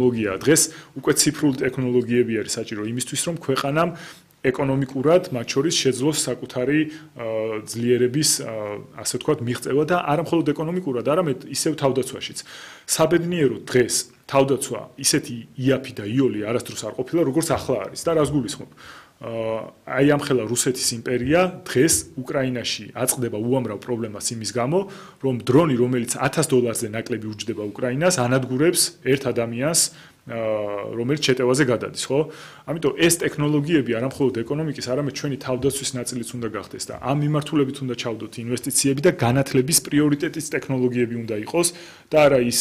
ტექნოლოგია დღეს უკვე ციფრული ტექნოლოგიები არის საჭირო იმისთვის რომ ქვეყანამ ეკონომიკურად მათ შორის შეძლოს საკუთარი ძლიერების ასე ვთქვათ მიღწევა და არა მხოლოდ ეკონომიკურად, არამედ ისევ თავდაცვაშიც. საბედნიეროდ დღეს თავდაცვა ისეთი იაფი და იოლი არასდროს არ ყოფილა, როგორც ახლა არის და რას გულისხმობ? აი ამხელა რუსეთის იმპერია დღეს უკრაინაში აწყდება უამრავ პრობლემას იმის გამო, რომ დრონი, რომელიც $1000-ზე ნაკლები უჯდება უკრაინას, ანადგურებს ერთ ადამიანს რომელიც შეტევაზე გადადის, ხო? ამიტომ ეს ტექნოლოგიები არა მხოლოდ ეკონომიკის, არამედ ჩვენი თავდაცვის ნაწილიც უნდა გახდეს და ამ მიმართულებით უნდა ჩავდოთ ინვესტიციები და განათლების პრიორიტეტის ტექნოლოგიები უნდა იყოს და არა ის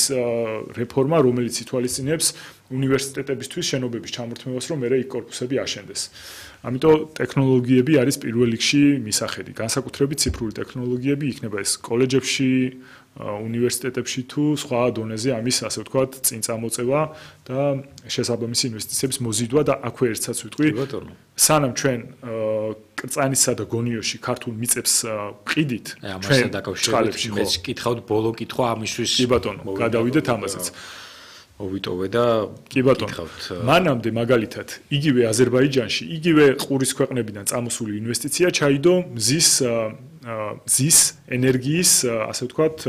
რეფორმა, რომელიც ითვალისწინებს უნივერსიტეტებისთვის შენობების ჩამორთმევას, რომ მერე იქ კორპუსები აშენდეს. ამიტომ ტექნოლოგიები არის პირველ რიგში მისახედი. განსაკუთრებით ციფრული ტექნოლოგიები იქნება ეს კოლეჯებში, უნივერსიტეტებში თუ სხვა დონეზე ამის ასე ვთქვათ წინ წამოწევა და შესაბამისი ინვესტიციების მოზიდვა და აქვე ერთსაც ვიტყვი სანამ ჩვენ კრწანისა და გონიოში ქართულ მიწებს ვყიდით ამასთან დაკავშირებით მეც კითხავთ ბოლო კითხვა ამისთვის კი ბატონო გადავიდეთ ამაზეც მოვიტოვე და კი ბატონო მანამდე მაგალითად იგივე აზერბაიჯანში იგივე ყურის ქვეყნებიდან წამოსული ინვესტიცია ჩაიდო მზის ენერგიის ასე ვთქვათ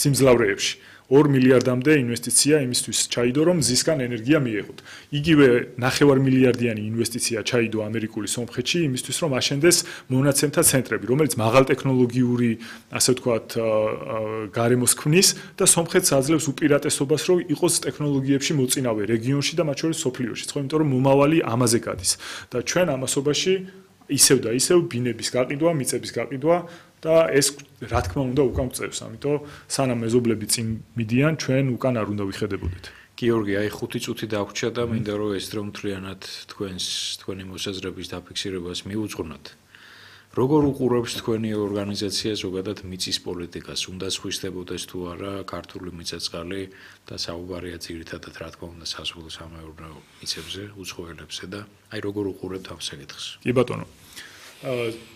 სიმძლავრეებში 2 მილიარდამდე ინვესტიცია იმისთვის ჩაიდო რომ მზისგან ენერგია მიეღოთ. იგივე 9 მილიარდიანი ინვესტიცია ჩაიდო ამერიკული სომხეთში იმისთვის რომ აშენდეს მონაცემთა ცენტრები, რომელიც მაღალ ტექნოლოგიური ასე ვთქვათ გარემოს ქმნის და სომხეთს აძლევს უპირატესობას რომ იყოს ტექნოლოგიებში მოწინავე რეგიონში და მათ შორის სოფლიოში, ხო, იმიტომ რომ მომავალი ამაზე გადის და ჩვენ ამასობაში ისევ და ისევ ბინების გაყიდვა, მიწების გაყიდვა და ეს რა თქმა უნდა უკან გწევს, ამიტომ სანამ მეზობლები წინ მიდიან, ჩვენ უკან არ უნდა ვიხედებოდეთ. გიორგი, აი 5 წუთი დაგვჭირდა და მინდა რომ ეს დრო მთლიანად თქვენი მოსაზრების დაფიქსირებას მიუძღვნათ. როგორ უყურებს თქვენი ორგანიზაცია ზოგადად მიწის პოლიტიკას? უნდა სხვისდებოდეს თუ არა ქართული მიწა-წყალი და საუბარია ძირითადად რა თქმა უნდა საზღვაო-სამეურნეო მიწებზე, უცხოელებზე და აი როგორ უყურებთ ამ საკითხს? კი ბატონო.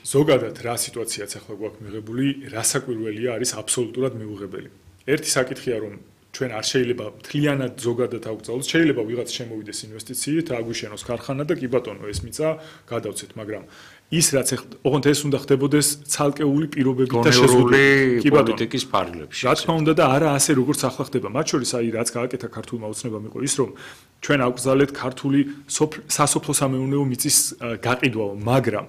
ზოგადად რა სიტუაციაც ახლა გვაქვს მიღებული, რა საკვირველია არის აბსოლუტურად მიუღებელი. ერთი საკითხია რომ ჩვენ არ შეიძლება მთლიანად ზოგადად აგვწავლოს, შეიძლება ვიღაც შემოვიდეს ინვესტიციით, აგვიშენოს ქარხანა და კი ბატონო ეს მიწა გადავცეთ, მაგრამ ის რაც ოღონდ ეს უნდა ხდებოდეს ცალკეული პირობებით და შეზღუდული პოლიტიკის ფარგლებში. რა თქმა უნდა და არა ასე როგორც ახლა ხდება. მათ შორის აი რაც გააკეთა ქართულმა ოცნებამ იყო ის რომ ჩვენ აგვგზავნეთ ქართული სასოფლო-სამეურნეო მიწის გაყიდვაო, მაგრამ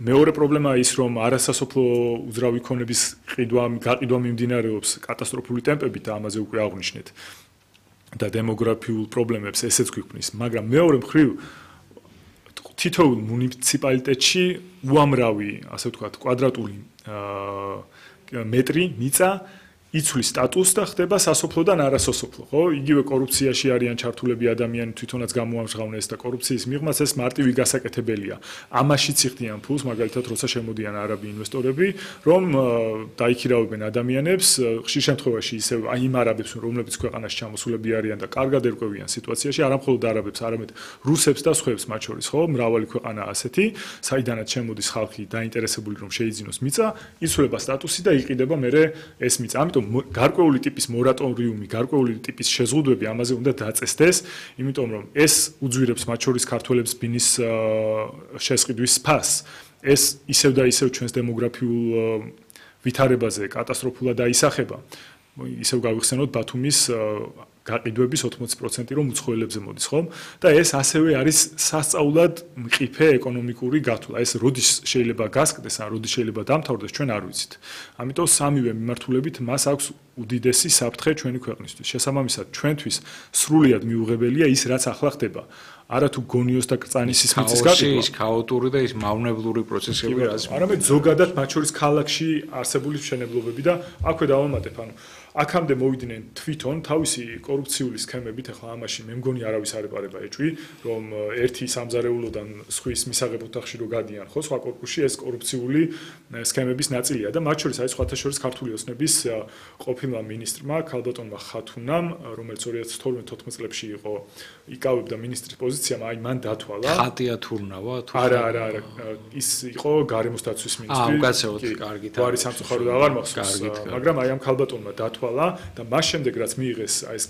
მეორე პრობლემაა ის რომ არასასოფლო უძრავი ქონების გაყიდვა მიმდინარეობს კატასტროფული ტემპებით და ამაზე უკვე აღვნიშნეთ და დემოგრაფიულ პრობლემებს ესეც გვიქმნის, მაგრამ მეორე მხრივ თითოეულ მუნიციპალიტეტში უამრავი, ასე ვთქვათ, კვადრატული მეტრი მიწა იცვლის სტატუსს და ხდება სასოფლო და არასასოფლო, ხო? იგივე კორუფციაში არიან ჩართულები ადამიანები, თვითონაც გამოამჟღავნეს და კორუფციის მიღმაც ეს მარტივი გასაკეთებელია. ამაშიც იხდიან ფულს, მაგალითად, როცა შემოდიან არაბი ინვესტორები, რომ დაიქირავებენ ადამიანებს, ხშირ შემთხვევაში ისევ აი იმ არაბებს, რომლებიც ქვეყანაში ჩამოსულები არიან და კარგად ერკვევიან სიტუაციაში, არა მხოლოდ არაბებს, არამედ რუსებს და სხვებს მათ შორის, ხო? მრავალი ქვეყანა ასეთი, საიდანაც შემოდის ხალხი დაინტერესებული რომ შეიძინოს მიწა, იცვლება სტატუსი და იყიდება მერე ეს მიწა. ამიტომ გარკვეული ტიპის მორატორიუმი, გარკვეული ტიპის შეზღუდვები ამაზე უნდა დაწესდეს, იმიტომ რომ ეს უძვირებს მათ შორის ქართველებს ბინის შესყიდვის ფასს. ეს ისევ და ისევ ჩვენს დემოგრაფიულ ვითარებაზე კატასტროფულად აისახება. ისევ გავიხსენოთ ბათუმის გაყიდვების 80% რომ უცხოელებზე მოდის, ხო? და ეს ასევე არის სასწაულად მყიფე ეკონომიკური გათვლა. ეს როდის შეიძლება გასკდეს, ან როდის შეიძლება დამთავრდეს, ჩვენ არ ვიცით. ამიტომ სამივე მიმართულებით მას აქვს უდიდესი საფრთხე ჩვენი ქვეყნისთვის. შესაბამისად, ჩვენთვის სრულიად მიუღებელია ის, რაც ახლა ხდება. არა თუ გონიოს და კრწანისის მიწის გაყიდვა, ის ქაოტური და ის მავნებლური პროცესები რაც არამედ ზოგადად მათ შორის ქალაქში არსებული მშენებლობები და აქვე დავამატებ, ანუ აქამდე მოვიდნენ თვითონ თავისი კორუფციული სქემებით, ახლა ამაში მე მგონი არავის არ ეპარება ეჭვი, რომ ერთი სამზარეულოდან სხვის მისაღებ ოთახში რო გადიან, ხო, სხვა კორპუსში ეს კორუფციული სქემების ნაწილია და მათ შორის არის სხვათა შორის ქართული ოცნების ყოფილმა მინისტრმა ქალბატონმა ხათუნამ, რომელიც 2012-14 წლებში იყო იკავებდა მინისტრის პოზიციამ, აი მან დათვალა. ხატია თურნავა თუ არა, ის იყო გარემოს დაცვის მინისტრი. უკაცრავად, კარგით. გვარი სამწუხაროდ აღარ მახსოვს, მაგრამ აი ამ ქალბატონმა დათვალა ითვალა და მას შემდეგ რაც მიიღეს ეს